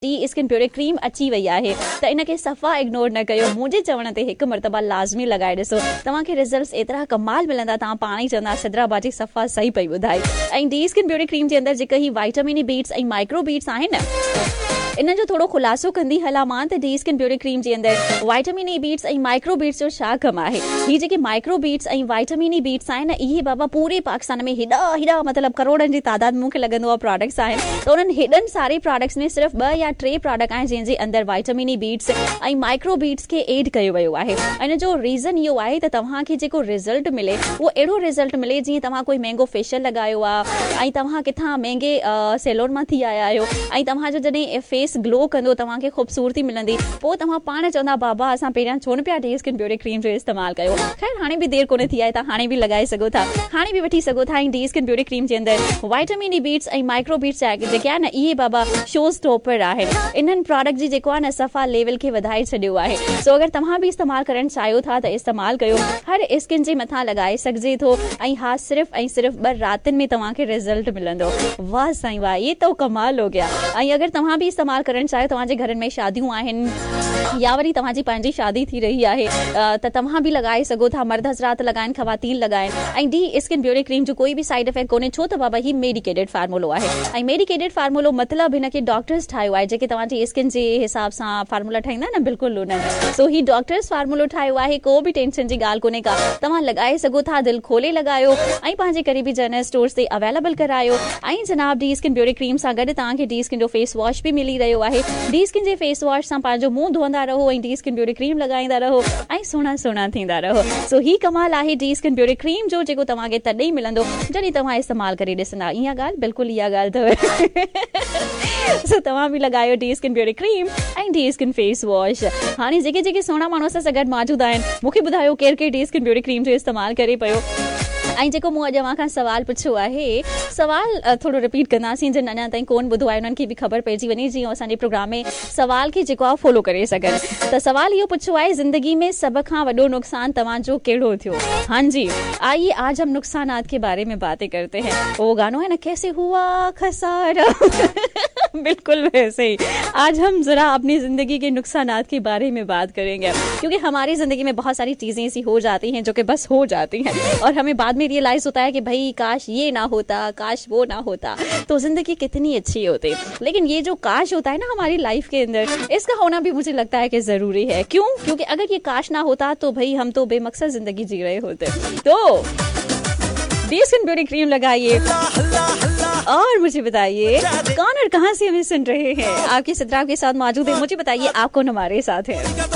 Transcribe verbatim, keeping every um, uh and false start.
D skin beauty cream अची वई आहे त इन खे सफ़ा इग्नोर न कयो। मुंहिंजे चवण ते हिकु मर्तबा लाज़मी लॻाए ॾिसो, तव्हांखे रिज़ल्ट्स एतिरा कमाल मिलंदा, तव्हां पाण ई चवंदा सिद्रा बाजी सफ़ा सही पई ॿुधाए। ऐं डी स्किन ब्यूटी क्रीम जे अंदरि जेका ही वाइटामिन बीट्स ऐं माइक्रो बीट्स आहिनि, इन जो थोरो ख़ुलासो कंदी हलां मां त डी स्किन ब्यूटी क्रीम जे अंदरि वाइटामिन ई बीट्स ऐं माइक्रो बीट्स जो छा कमु आहे। ही जेके माइक्रो बीट्स ऐं वाइटामिन ई बीट्स आहिनि, इहे बाबा पूरे पाकिस्तान में हेॾा हेॾा मतिलबु करोड़नि जी तादाद में मूंखे लॻंदो आहे प्रोडक्ट्स आहिनि, त उन्हनि हेॾनि सारे प्रोडक्ट्स में सिर्फ़ु ॿ या टे प्रोडक्ट आहिनि जंहिंजे अंदरि वाइटामिन ई बीट्स ऐं माइक्रो बीट्स खे एड कयो वियो आहे। इन जो रीज़न इहो आहे त तव्हांखे जेको रिज़ल्ट मिले उहो अहिड़ो रिज़ल्ट मिले जीअं तव्हां कोई महिंगो फेशियल लॻायो आहे ऐं तव्हां किथां महिंगे सैलून मां थी आया आहियो ऐं तव्हांजो जॾहिं फेस ग्लो कंदो, तव्हांखे ख़ूबसूरती मिलंदी, पोइ तव्हां पाण चवंदा बाबा असां पहिरियां छो न पिया डी स्किन ब्यूटी क्रीम जो इस्तेमालु कयो। ख़ैर हाणे बि देरि कोन थी आहे, तव्हां हाणे बि लॻाए सघो था, हाणे बि वठी सघो था। ऐं डी स्किन ब्यूटी क्रीम जे अंदरि वाइटामिन ई बीट्स ऐं माइक्रो बीट्स जेके आहिनि न, इहे बाबा शो स्टॉपर आहिनि। इन्हनि प्रोडक्ट जी जेको आहे न सफ़ा लेवल खे वधाए छॾियो आहे। सो अगरि तव्हां बि इस्तेमालु करणु चाहियो था त इस्तेमालु कयो, हर स्किन जे मथां लॻाए सघिजे थो ऐं हा सिर्फ़ु ऐं सिर्फ़ु ॿ रातियुनि में तव्हांखे रिज़ल्ट मिलंदो। वाह साईं वाह, ये तो कमाल हो गया। ऐं अगरि तव्हां बि इस्तेमालु करणु चाहियो, तव्हांजे घरनि में शादियूं आहिनि या वरी तव्हांजी पंहिंजी शादी थी रही आहे त तव्हां बि लॻाए सघो था, मर्द हज़रात लॻाइनि, ख़वातीन लॻाइनि। ऐं डी स्किन ब्यूटी क्रीम जो कोई बि साइड इफ़ेक्ट कोन्हे, छो त बाबा ही मेडिकेटेड फार्मूलो आहे ऐं मेडिकेटेड फार्मूलो मतिलबु हिनखे डॉक्टर्स ठाहियो आहे, जेके तव्हांजी स्किन जे हिसाब सां फार्मूला ठाहींदा न, बिल्कुलु उन्हनि। सो ही डॉक्टर्स फार्मूलो ठाहियो आहे, को बि टेंशन जी ॻाल्हि कोन्हे का, तव्हां लॻाए सघो था, दिलि खोले लॻायो ऐं पंहिंजे क़रीबी जनरल स्टोर्स ते अवेलेबल करायो। ऐं जनाब डी स्किन ब्यूटी क्रीम सां गॾु तव्हांखे डी स्किन जो फेस वॉश बि मिली रहियो आहे। डी स्किन जे फेस वॉश सां पंहिंजो मुंहुं धोअंदा रहो ऐं डी स्किन ब्यूटी क्रीम लॻाईंदा रहो ऐं सुहिणा सुहिणा थींदा रहो। सो ही कमाल आहे डी स्किन ब्यूटी क्रीम जो, जेको तव्हांखे तॾहिं ई मिलंदो जॾहिं तव्हां इस्तेमालु करे ॾिसंदा। इहा ॻाल्हि बिल्कुलु इहा ॻाल्हि अथव। सो तव्हां बि लॻायो डी स्किन ब्यूटी क्रीम ऐं डी स्किन फेस वॉश। हाणे जेके जेके सुहिणा माण्हू असां सां गॾु मौजूदु आहिनि, मूंखे ॿुधायो केरु केरु डी स्किन ब्यूटी क्रीम जो इस्तेमालु करे पियो। ऐं जेको मूं अॼु अव्हां खां सवाल पुछियो आहे, सवाल थोरो रिपीट कंदासीं, जिन अञा ताईं कोन ॿुधो आहे उन्हनि खे बि ख़बर पइजी वञे, जीअं असांजे प्रोग्राम में सवाल खे जेको आहे फॉलो करे सघनि। त सवाल इहो पुछियो आहे, ज़िंदगी में सभ खां वॾो नुक़सानु तव्हांजो कहिड़ो थियो? हाँ जी, आइए आज हम नुक़सानात के बारे में बातें करते हैं। वो गानो है ना, कैसे हुआ खसारा, बिल्कुल वैसे ही आज हम ज़रा अपनी ज़िंदगी के नुकसानात के बारे में बात करेंगे, क्योंकि हमारी ज़िंदगी में बहुत सारी चीज़ें ऐसी हो जाती हैं जो कि बस हो जाती हैं और हमें बाद में रियलाइज़ होता है कि भाई काश ये ना होता, काश वो ना होता, तो ज़िंदगी कितनी अच्छी होती। लेकिन ये जो काश होता है ना हमारी लाइफ के अंदर, इसका होना भी मुझे लगता है कि ज़रूरी है। क्यों? क्योंकि अगर ये काश ना होता तो भाई हम तो बेमकसद ज़िंदगी जी रहे होते। तो डी स्किन ब्यूटी क्रीम लगाइए और मुझे बताइए कौन और कहाँ से हमें सुन रहे हैं। आपकी सिद्रा के साथ मौजूद है, मुझे बताइए आप कौन हमारे साथ हैं।